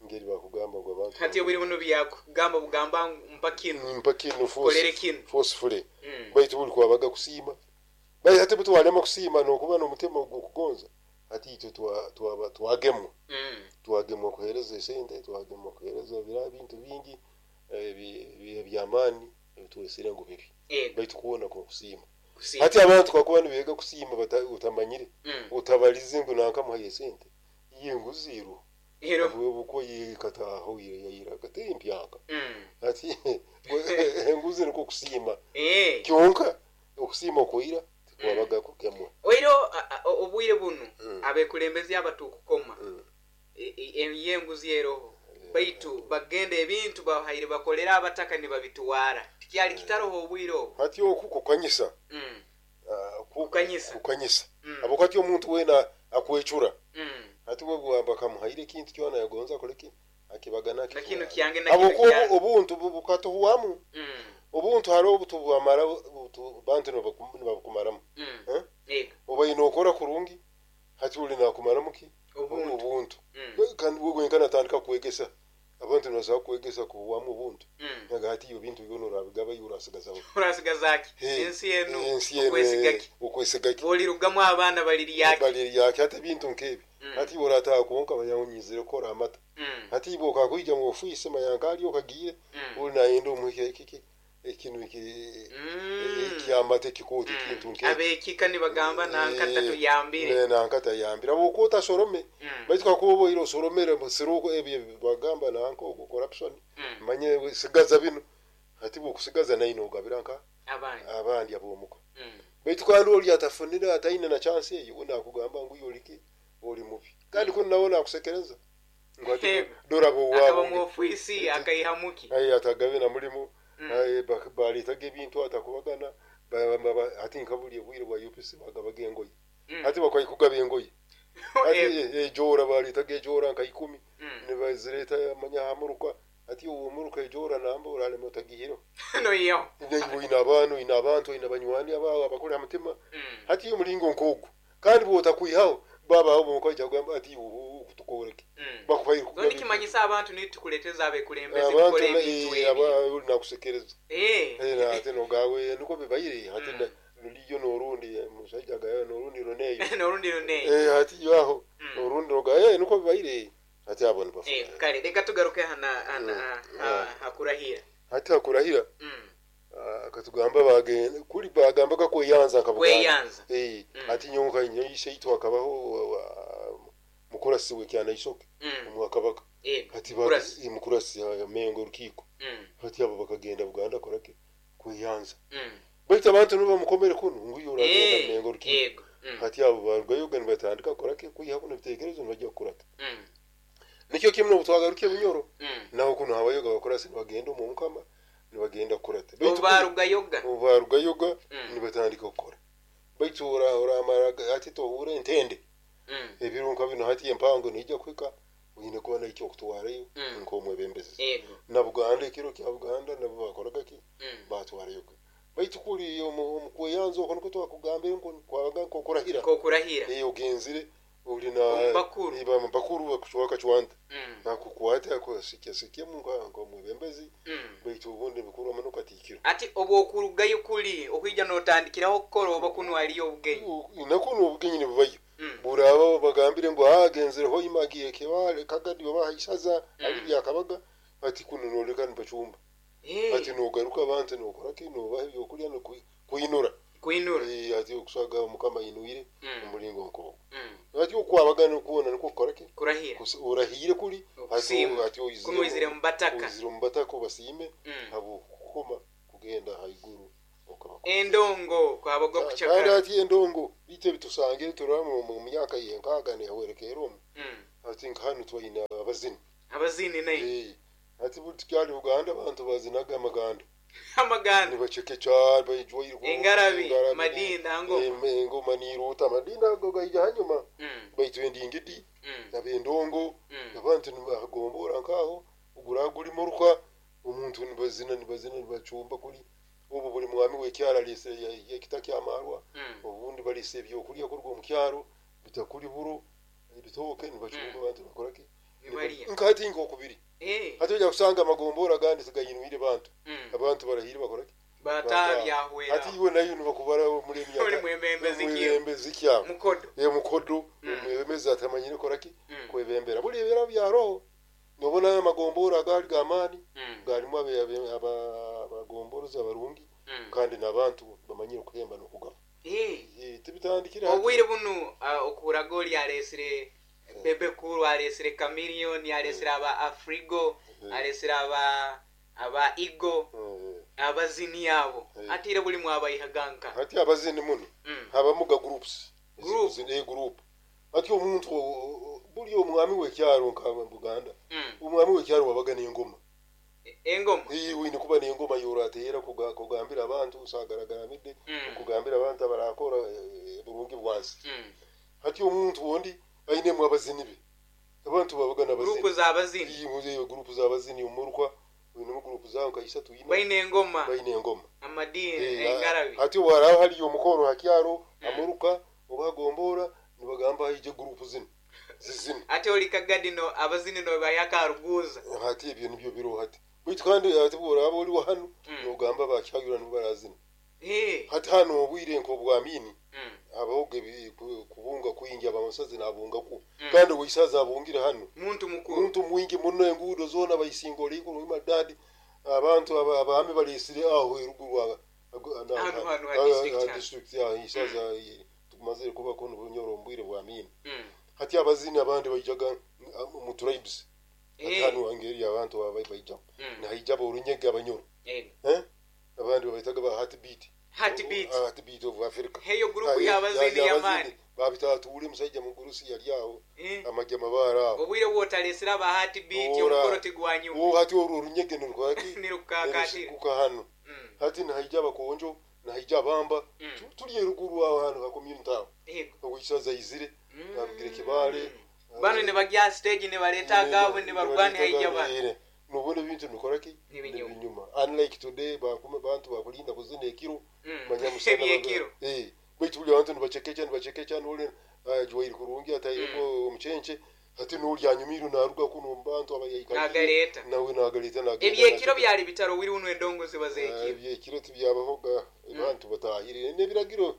[SPEAKER 3] ngeri bakugamba ngu abantu
[SPEAKER 1] hati obwire buno byakugamba bugamba mpa kinu,
[SPEAKER 3] mpa kinu,
[SPEAKER 1] kolere kinu
[SPEAKER 3] forcefully. Baitu buli kwabaga kusiima. Baitu hati butwalema kusiima nokuba n'omutima ogw'okugonza, hati itwe twaba twagemwa twagemwa kuheereza esente, twagemwa kuheereza bira bintu bingi eby'amaani ebitwesire ngu bibi. Baitu kuona kusiima. Hati abantu kakuba nibeega kusiima utamanyire utabalize ngu nankamuhayo esente iye nguziirwe obuko yikataho yayira kate mpyaka. Hati enguzi niko kusiima kyonka okusiima okwira tikwabaga kukemwa.
[SPEAKER 1] Oiro obwire bunu abekulembezi abatukukoma yenguzi eroho baitu bagenda ebintu bahaire bakolera abataka nibabitwara tikyali kitaroho obwire obu.
[SPEAKER 3] Hati oku kukanyisa
[SPEAKER 1] kukanyisa
[SPEAKER 3] kukanyisa abokati omuntu wena akwecura. Hati we bakamuhaire ekintu kyona yagonza akoleki akibagana
[SPEAKER 1] kino kyange na kino
[SPEAKER 3] obuntu bukatuhwamu. Obuntu hariho obutubwamara bantu nibabukumaramu. Oba ine okora kurungi hati uli nakumaramu ki obuntu. Kandi wewe natandika kwegesa abantu nibasobola kwegesa kuhwamu obuntu. Naga hati iyo bintu byona orabigaba iyo urasigazaho
[SPEAKER 1] urasigaza ki ensi enu okwesigaki
[SPEAKER 3] okwesigaki
[SPEAKER 1] bolirugamu abaana baliriyaki
[SPEAKER 3] baliriyaki. Hati ebintu nkebi hati orataha konka bayawunyizire kukora amata. Hati ibo okakwija mu ofisi mayankali okagiye uli nayenda omuhike kiki ekinu iki ekyamata ekikooti ekintu nkebi
[SPEAKER 1] abekika nibagamba nankata tuyambire
[SPEAKER 3] nankata yambire abokota sorome. Baitu kakuba oboire osoromere musiruko ebyo bagamba nanka ogwo corruption manye sigaza bino. Hati bokusigaza naye nogabira nka
[SPEAKER 1] abandi
[SPEAKER 3] abandi abomuko. Baitu kandi oli atafunira ataine na chance eyo unakugamba ngu yoliki oli mubi kandi kuno nawe nakusekereza ngwati dora bo
[SPEAKER 1] wabo akaba mu ofisi akaihamuki
[SPEAKER 3] ayi atagabe na mulimu baletaga ebintu atakubagana ati nkabuli obwire bwa U P C bagabaga engoye. Hati bakwaikugaba engoye ati ejora baletaga ejora nka ikumi nibazireta manya hamuruka. Ati uwo muruka ejora namba uralema utagihiro
[SPEAKER 1] no iyo
[SPEAKER 3] ina abantu ina abantu ina banywani abawe abakora mutima. Hati iyo mulingo nkogu kandi botakwihaho baba abo mukoja kugamba ati kutukoreke bakubaye
[SPEAKER 1] kugamba nikimanyisa abantu nitukuleteza abekulembezi kukora ebintu
[SPEAKER 3] ebyo nakusekereza
[SPEAKER 1] eh
[SPEAKER 3] eh ate nogawe niko bibaire hati luliyo norundi musajja gayo norundi roneyo
[SPEAKER 1] norundi roneyo
[SPEAKER 3] eh hati yaho norundi nogaye niko bibaire hati abo nibafu
[SPEAKER 1] eh kale reka tugaruke hana hana hakurahira.
[SPEAKER 3] Hati hakurahira akatugamba bagenda kuli bagamba kakweyanza
[SPEAKER 1] akabuganda kweyanza
[SPEAKER 3] eh ati nyonka nyoyise itwa akabaho mukurasi we kyana isoke omwakabaka hati ba mukurasi ya mengo rukiko hati abo bakagenda Buganda korake kweyanza. Baitu abantu nibo mukomere kuno nguyo uragenda mengo rukiko hati abo barugayo gani batandika korake kuyiha kuno bitekerezo nibajya kurata. Nikyo kimwe n'obutwagaruke Bunyoro naho kuno habayoga bakurasi bagenda mu mukama nibagenda kurata.
[SPEAKER 1] Baitu barugayoga
[SPEAKER 3] barugayoga nibatandika gukora. Baitu ora oramara ati tohure entende ebirunka bino hati empango nijja kwika oyine kuba naikyo okutwarayo nk'omwebembezi na Buganda ekiro kya Buganda nabo bakoraga ki batwarayo. Baitu kuli omukweyanza okwo niko twakugambire nko kwabaga nkokurahira
[SPEAKER 1] nkokurahira
[SPEAKER 3] eh ogenzire uli na
[SPEAKER 1] bakuru
[SPEAKER 3] iba bakuru bakushwaka chwanta nakukwata akusikia sikia mungu nk'omwebembezi. Baitu ubundi bikuru amano katikiro
[SPEAKER 1] ati obwokurugayo kuli okwija notandikiraho okukora oba kuno aliyo obugenyi
[SPEAKER 3] nakuno obugenyi nibubayo buraba bagambire ngo agenzire ho imagiye kebale kagadi bahaishaza ali byakabaga ati kuno noleka nipachumba ati nogaruka abantu nokora kino bahe byokulya no kuinura
[SPEAKER 1] kuinura
[SPEAKER 3] eh ati okusaga mukama inuire omulingo nko ati okwabagana okuona niko kukora ki
[SPEAKER 1] kurahira
[SPEAKER 3] urahire kuli
[SPEAKER 1] ati ati kuno izire mbataka
[SPEAKER 3] izire mbataka basime abo kukoma kugenda haiguru. kukaba
[SPEAKER 1] Endongo kwabaga
[SPEAKER 3] kandi
[SPEAKER 1] kuchakara.
[SPEAKER 3] Ati endongo bitu ebitusangire turaba mu myaka yenkaaga nehwerekeera omu.
[SPEAKER 1] Mm.
[SPEAKER 3] Ati nka hanu twaine abazini.
[SPEAKER 1] Abazini naye.
[SPEAKER 3] Eh, ati buli tukyali Uganda abantu bazinaga amaganda.
[SPEAKER 1] Amaganda.
[SPEAKER 3] Nibacekeca baijwaire.
[SPEAKER 1] Engarabi, madinda, ngoma.
[SPEAKER 3] Engoma niruuta amadinda ago gaija hanyuma.
[SPEAKER 1] Mm.
[SPEAKER 3] Baitu endingidi
[SPEAKER 1] Mm.
[SPEAKER 3] abendongo
[SPEAKER 1] Mm.
[SPEAKER 3] abantu nibagombora nkaho ogura guli muruka omuntu nibazina nibazina nibacumba kuli obu buli mwami w'ekyaro alese ekita kyamarwa.
[SPEAKER 1] Mm.
[SPEAKER 3] Obundi balese ebyokulya kuruga omu kyaro bitakuli buro ebitooke nibacumba abantu bakoraki.
[SPEAKER 1] Nibalya.
[SPEAKER 3] Nkati nkokubiri.
[SPEAKER 1] Eh.
[SPEAKER 3] Hati ojja kusanga amagombora agandi tigayinwire bantu.
[SPEAKER 1] Mm.
[SPEAKER 3] Abantu barahire bakoraki.
[SPEAKER 1] Batabyahwera.
[SPEAKER 3] Hati iwe nayo nibakubara muri emyaka
[SPEAKER 1] Muri mwebembezi kyo.
[SPEAKER 3] mwebembezi kyabo.
[SPEAKER 1] Mukodo.
[SPEAKER 3] Ye mukodo.
[SPEAKER 1] Mm.
[SPEAKER 3] Omwebembezi atamanyire koraki
[SPEAKER 1] Mm.
[SPEAKER 3] kwebembera buli ebera byaroho nobona amagombora agali gamaani.
[SPEAKER 1] Mm.
[SPEAKER 3] Galimu abe- abe- aba- abagomborozi abarungi.
[SPEAKER 1] Mm.
[SPEAKER 3] Kandi n'abantu bamanyire okuhemba n'okugaba.
[SPEAKER 1] Eh.
[SPEAKER 3] Eh, tibitandikire hati.
[SPEAKER 1] Obwire bunu ah, okuraga oli alesire Bebe Cool, alesire Chameleone, alesire aba Afrigo,
[SPEAKER 3] Eh.
[SPEAKER 1] alesire aba aba Igo,
[SPEAKER 3] Eh,
[SPEAKER 1] abazini abo.
[SPEAKER 3] Eh.
[SPEAKER 1] Atire buli mwabayihaganka.
[SPEAKER 3] Hati abazini muno
[SPEAKER 1] Mm.
[SPEAKER 3] habamu ga groups.
[SPEAKER 1] Group.
[SPEAKER 3] Zine group ati omuntu o- o- buli omwami w'ekyaro nka Buganda.
[SPEAKER 1] Mm.
[SPEAKER 3] Omwami w'ekyaro wabaga n'engoma.
[SPEAKER 1] Engoma.
[SPEAKER 3] Iyi wine kuba n'engoma yorateera kuga- kugambira abantu usagaragaramidde.
[SPEAKER 1] Mm.
[SPEAKER 3] Kugambira abantu abarakora eh, burungi bwansi.
[SPEAKER 1] Mm.
[SPEAKER 3] Hati omuntu wondi ainemu abazini be abantu babaga
[SPEAKER 1] Group
[SPEAKER 3] n'abazini.
[SPEAKER 1] z'abazini.
[SPEAKER 3] Iyi muzeyo group z'abazini omurukwa winemu group zawo nka isatu ina.
[SPEAKER 1] Baine engoma.
[SPEAKER 3] Baine engoma.
[SPEAKER 1] Amadini,
[SPEAKER 3] Eh,
[SPEAKER 1] engarabi.
[SPEAKER 3] Hati waraho haliyo omukoro hakyaro
[SPEAKER 1] Mm.
[SPEAKER 3] amuruka obagombora nibagamba haije group zino zizino.
[SPEAKER 1] Ate oli kagadino abazini no bayakaruguza.
[SPEAKER 3] Hati ebyo nibyo biro hati baitu kandi hati bworaba oli hano
[SPEAKER 1] Mm.
[SPEAKER 3] nogamba bakyayura nibarazina.
[SPEAKER 1] Eh.
[SPEAKER 3] Hati hano obwire nk'obwamini
[SPEAKER 1] Mm.
[SPEAKER 3] habaho ebi- ku- kubunga kwingi abamusazi nabungaku.
[SPEAKER 1] Mm.
[SPEAKER 3] Kandi weisaza abungire hano.
[SPEAKER 1] Muntu mukuru.
[SPEAKER 3] Muntu mwingi muno enguudo zoona bayisinga olikulu madadi abantu aba- abaami balesire aho eruguru aba- ago-
[SPEAKER 1] Hano, hano, ha
[SPEAKER 3] ah,
[SPEAKER 1] district
[SPEAKER 3] ah,
[SPEAKER 1] hano.
[SPEAKER 3] district ya isaza tukumazire kubako n'obunyoro omu bwire bwa mini.
[SPEAKER 1] Mm.
[SPEAKER 3] Hati abazini abandi baijaga mm, mu tribes hati
[SPEAKER 1] Eh.
[SPEAKER 3] hano angeri abantu aba baija
[SPEAKER 1] Mm.
[SPEAKER 3] nahaija borunyege abanyoro.
[SPEAKER 1] Eh.
[SPEAKER 3] Eh abandi babaitaga ba heartbeat.
[SPEAKER 1] Heartbeat.
[SPEAKER 3] Ah, heartbeat of Africa.
[SPEAKER 1] Heyo group
[SPEAKER 3] Ah,
[SPEAKER 1] y'abazini
[SPEAKER 3] ya-
[SPEAKER 1] y'amaani.
[SPEAKER 3] babitatuule musajja mugurusi yali aho.
[SPEAKER 1] Eh.
[SPEAKER 3] Amajja mabaara aho.
[SPEAKER 1] Obwire bwotalesera aba heartbeat
[SPEAKER 3] Ora.
[SPEAKER 1] omukoro tigwanyuma.
[SPEAKER 3] Wo hati olwo orunyege nirwaki
[SPEAKER 1] Nirukakatira.
[SPEAKER 3] kuka hano.
[SPEAKER 1] Mm.
[SPEAKER 3] Hati nahaija abakonjo nahaija abamba.
[SPEAKER 1] Mm.
[SPEAKER 3] Tu- tuli eruguru aho hano ha community aho.
[SPEAKER 1] Yego.
[SPEAKER 3] Owisaza izire
[SPEAKER 1] Mm.
[SPEAKER 3] arugire Kibale.
[SPEAKER 1] Bano ne bagya stage ne baleta agabo ne barwani haija bano.
[SPEAKER 3] Nobona ebintu nikoraki.
[SPEAKER 1] Nibinyuma.
[SPEAKER 3] Nibinyuma unlike today bakuma bantu bakulinda kuzina ekiro.
[SPEAKER 1] Mm.
[SPEAKER 3] Manya musana
[SPEAKER 1] Ebyekiro.
[SPEAKER 3] eh baitu buli abantu nibacekeca nibacekeca nole jwairi kurungi atayego omucenche ati noli anyumiru naruga kuno mu bantu abayaika.
[SPEAKER 1] Nagaleta.
[SPEAKER 3] Nawe nagaleta nagenda.
[SPEAKER 1] Ebyekiro byali bitaro wiri uno endongo ziba
[SPEAKER 3] Ah,
[SPEAKER 1] zekiro.
[SPEAKER 3] ebyekiro tibyabahoga abantu batahire n'ebiragiro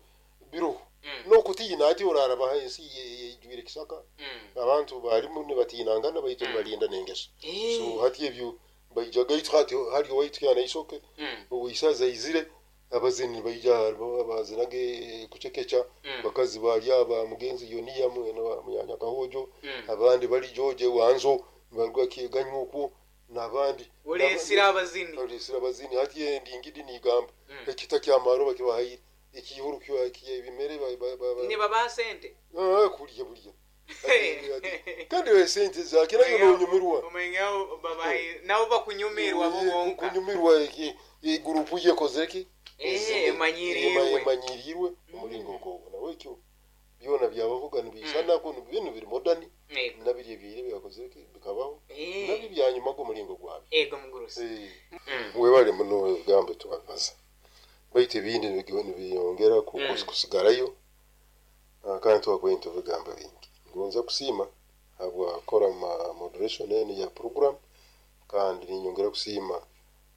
[SPEAKER 3] biro.
[SPEAKER 1] Mm.
[SPEAKER 3] Nokutiina ati oraraba ensi yejwire kisaka.
[SPEAKER 1] Mm.
[SPEAKER 3] Abantu barimu nibatinangana baitu
[SPEAKER 1] Mm.
[SPEAKER 3] nibalinda n'engeso.
[SPEAKER 1] Eh.
[SPEAKER 3] So hati ebyo baijaga itu hati hali waitu yana isoke.
[SPEAKER 1] Mm.
[SPEAKER 3] Owisaza izire abazini baija bazinage kucekeca.
[SPEAKER 1] Mm.
[SPEAKER 3] Bakazi bali aba mugenzi yoniya mwene wa munyanya kahojo.
[SPEAKER 1] Mm.
[SPEAKER 3] Abandi bali George wanzo baruga kiganywa okwo n'abandi.
[SPEAKER 1] Olesira abazini.
[SPEAKER 3] Olesira abazini hati endingidi nigamba
[SPEAKER 1] Mm.
[SPEAKER 3] ekita kyamaro bakibahayire ekihuru kyo ebimere ba- ba- ba- ba-
[SPEAKER 1] Ne baba sente.
[SPEAKER 3] Ah, kulya bulya Ati- ati- kandi we sente zake nayo nonyumirwa.
[SPEAKER 1] Omenyawo babayi nabo bakunyumirwa bo bonka.
[SPEAKER 3] Kunyumirwa iki igurupu yekozeki.
[SPEAKER 1] Eh, emanyirirwe.
[SPEAKER 3] Emanyirirwe omulingo ogwo nawe ekyo byona byabavuga nibisanako bintu biri modern.
[SPEAKER 1] Yego.
[SPEAKER 3] Nabiri ebyire byakozeki bikabaho.
[SPEAKER 1] Eh.
[SPEAKER 3] Nabyo byanyuma g'omulingo gwabyo.
[SPEAKER 1] Ego mugurusi.
[SPEAKER 3] Eh,
[SPEAKER 1] Mm.
[SPEAKER 3] webale muno ebigambo twabaza baitu ebindi nibiyongera ku-
[SPEAKER 1] Mm.
[SPEAKER 3] kusigarayo. Ah, kandi twakwenda ebigambo bingi ngonza kusiima habwakora ma moderation enu ya program kandi ninyongera kusiima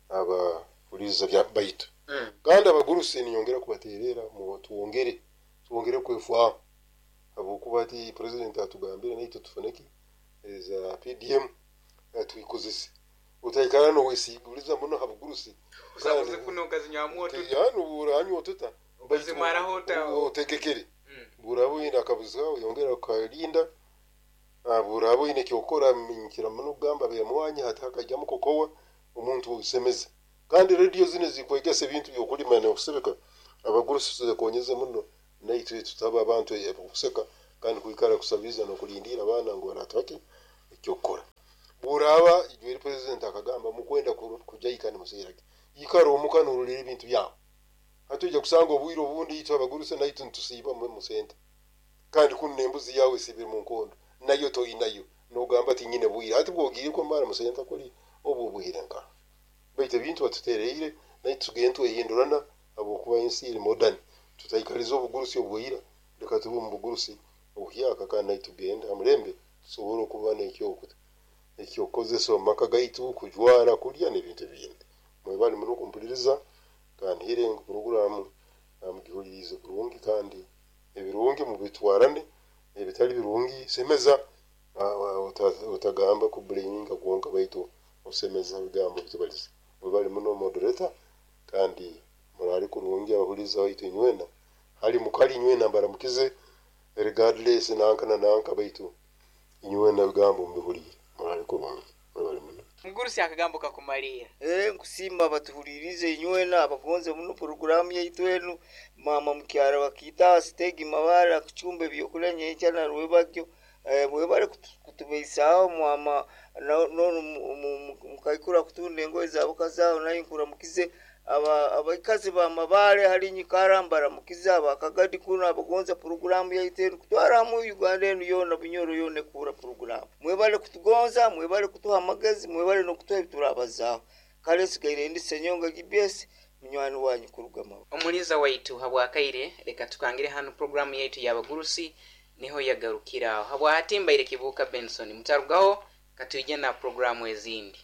[SPEAKER 3] abahuliza bya baitu.
[SPEAKER 1] Mm.
[SPEAKER 3] Kandi abagurusi ninyongera kubaterera mu tuwongere tuwongere kwefwaho habwokuba ati president atugambire naitwe tufuneki za P D M eh, tuikozese utaikara nowesiguriza muno habugurusi.
[SPEAKER 1] Usabuze kuno ukazinywamu otuta.
[SPEAKER 3] Yani uranywa otuta.
[SPEAKER 1] Ukazimaraho ota-
[SPEAKER 3] utegekere.
[SPEAKER 1] Mm.
[SPEAKER 3] Buraba oyine akabuzi kawe yongera ukalinda. Ah, buraba oyine kyokora minkira muno kugamba bemwanya hati hakajyamu kokowa omuntu usemeze. Kandi rediyo zino zikwegesa ebintu by'okulima n'okusebeka, abagurusi tuzekonyeze muno, naitwe tutaba abantu abokuseka kandi kwikara kusabiriza n'okulindiira abaana ngu baratuhaki ekyokukora. Bw'oraaba ijweri president akagamba mukwenda kujaika nimuseerage, ikara omuka n'orolera ebintu byawe. Hati ojja kusanga obwire obundi itwe abagurusi naitwe nitusiiba mu sente, kandi kunu n'embuzi yawe esibire mu nkondo nayo toyinayo, n'ogamba ati nyine bwire. Hati bw'ogiire kumara mu sente kuli obwo obwire nka baitu ebintu batutereire naitwe tugende twehindurana habwokuba ensi eri modern. Tutaikaliza obugurusi obwira, leka tube omu bugurusi obuhyaka kandi naitwe tugende ha mulembe tusobole okuba n'ekyokuta ekyokukozesa omu maka gaitu, kujwara, kulya n'ebintu ebindi. Mwebale muno kumpuliriza kandi hire ngu puroguramu mugihulirize kurungi, kandi ebirungi mubitwarane, ebitali birungi semeza, otagamba kublaminga kwonka baitu osemeza ebigambo bitubaliza. Mwebale muno moderator, kandi murale kurungi abahuliza baitu inywena, hali mukali inywena mbaramukize regardless nanka na nanka, baitu inywena ebigambo mubihulire. Murale kurungi, mwebale muno.
[SPEAKER 1] Mugurusi akagambo kakumalira.
[SPEAKER 2] Eh, nkusimba batuhulirize inywena abagonze muno poroguramu yaitu enu. Mama mukyara wakita sitegi mabara kuchumba ebyokulya nyenkya na rwebagyo. Eh, mwebale kutubeisaho mwama no mukaikura kutunda engoye zabo kazao nayo nkuramukize aba abaikazi ba mabale hali nyikara mbaramukize abakagadi kuno abagonza poroguramu yaitu enu kutwaramu Uganda enu yona Bunyoro yona ekura poroguramu. Mwebale kutugonza, mwebale kutuha amagezi, mwebale n'okutuha ebiturabazaho. Kale nsigaire ndi Senyonga G B S munywani wanyu kuruga Mabale.
[SPEAKER 1] Omuliza waitu habwakaire, leka tukangire hanu programu yaitu y'abagurusi niho yagarukiraho. Habwahatimbaire Kibuuka Benson, mutarugaho katwije na programu ezindi.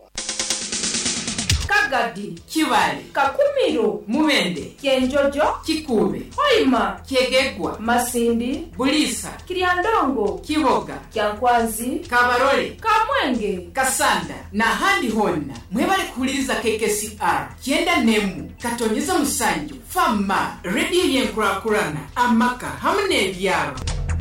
[SPEAKER 4] Kagadi,
[SPEAKER 5] Kibale,
[SPEAKER 4] Kakumiro,
[SPEAKER 5] Mubende,
[SPEAKER 4] Kyenjojo,
[SPEAKER 5] Kikube,
[SPEAKER 4] Hoima,
[SPEAKER 5] Kyegegwa,
[SPEAKER 4] Masindi,
[SPEAKER 5] Bulisa,
[SPEAKER 4] Kiryandongo,
[SPEAKER 5] Kiboga,
[SPEAKER 4] Kyankwanzi,
[SPEAKER 5] Kabarole,
[SPEAKER 4] Kamwenge,
[SPEAKER 5] Kasanda n'ahandi honna. Mwebale kuhuliriza K K C R kyenda n'emu katonyeza musanju fama rediyo y'enkurakurana amaka hamwe n'ebyaro.